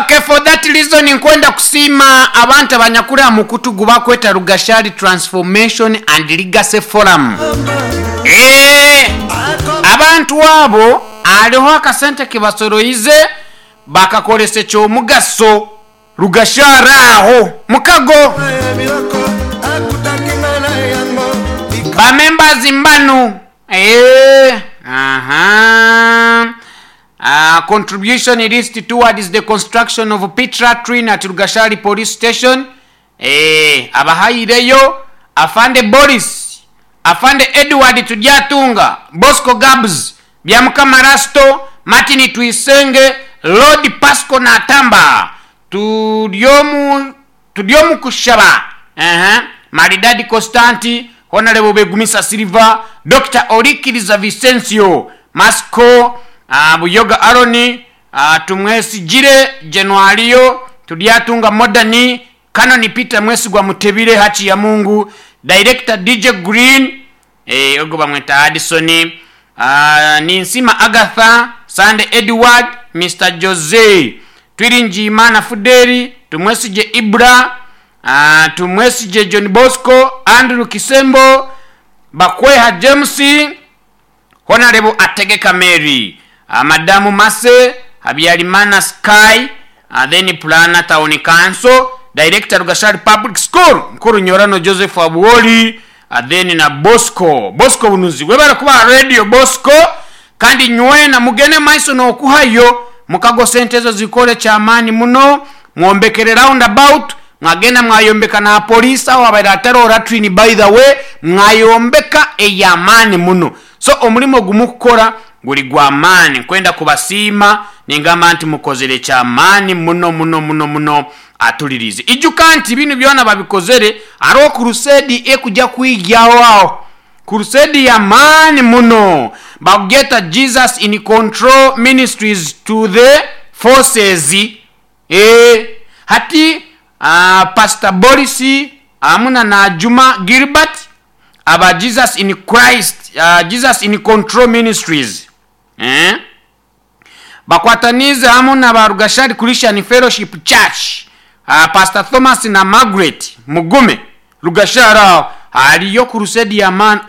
Okay, for that reason nkwenda kusiima abantu abanyakuri aha mukutu gubakweta Rugashari Transformation and Legacy Forum. Eeh, abantu abo hariho akasente kebasoroize bakakoresa ekyomugaso Rugashari aho mukago. Ba members mbanu. Eeh, aha. Contribution list towards the construction of pit latrine at Rugashari Police Station. Eeh, abahaireyo, Afande Boris, Afande Edward Turyatunga, Bosco Gabs, Byamukama Rasto, Martin Twisenge, Lord Pasco Natamba, Turyomu Turyomukushaba, eeh, Maridadi Costanti, Honarebo Begumisa Silver, Dokita Orikiriza Vicencio, Masco, Buyoga Aaron, Tumwesigire Januario, Turyatunga Modern, Canon Peter Mwesigwa Mutebile Hakiyamungu, Director DJ Green, eh, ogwo bamweta Addison, Ninsima Agatha, Sande Edward, Mister Jose, Twiringiyimana Fudeli, Tumwesigye Ibra, Tumwesigye John Bosco, Andrew Kisembo, Bakweha James, Honarebo Ategeka Mary, Madamu Mase, Habyarimana Sky, then Pulana Town Council, Director Rugashari Public School, Mukuru Nyorano Joseph Abwoli, then na Bosco, Bosco Bunuzi. Webale kuba Radio Bosco, kandi nywena mugende maiso n'okuhayo mukago sente ezo zikore kyamaani muno, mwombekere roundabout, mwagenda mwayombeka na police aho abaire atariho latrine by the way, mwayombeka ey'amaani muno. So omurimo ogu mukukora guri gw'amaani, nkwenda kubasiima ningamba nti mukozire ky'amaani muno muno muno muno atuliriize. Ijuka nti binu byona babikozere hariho crusade ekuja kwigyaho aho. Crusade y'amaani muno bakugyeta Jesus in Control Ministries to the Forces. Eeh hati Pastor Boris hamu na Najuma Gilbert aba Jesus in Christ, Jesus in Control Ministries eeh bakwataniize hamu na ba Rugashari Christian Fellowship Church, Pastor Thomas na Margaret Mugume Rugashari aho hariyo crusade y'amaani.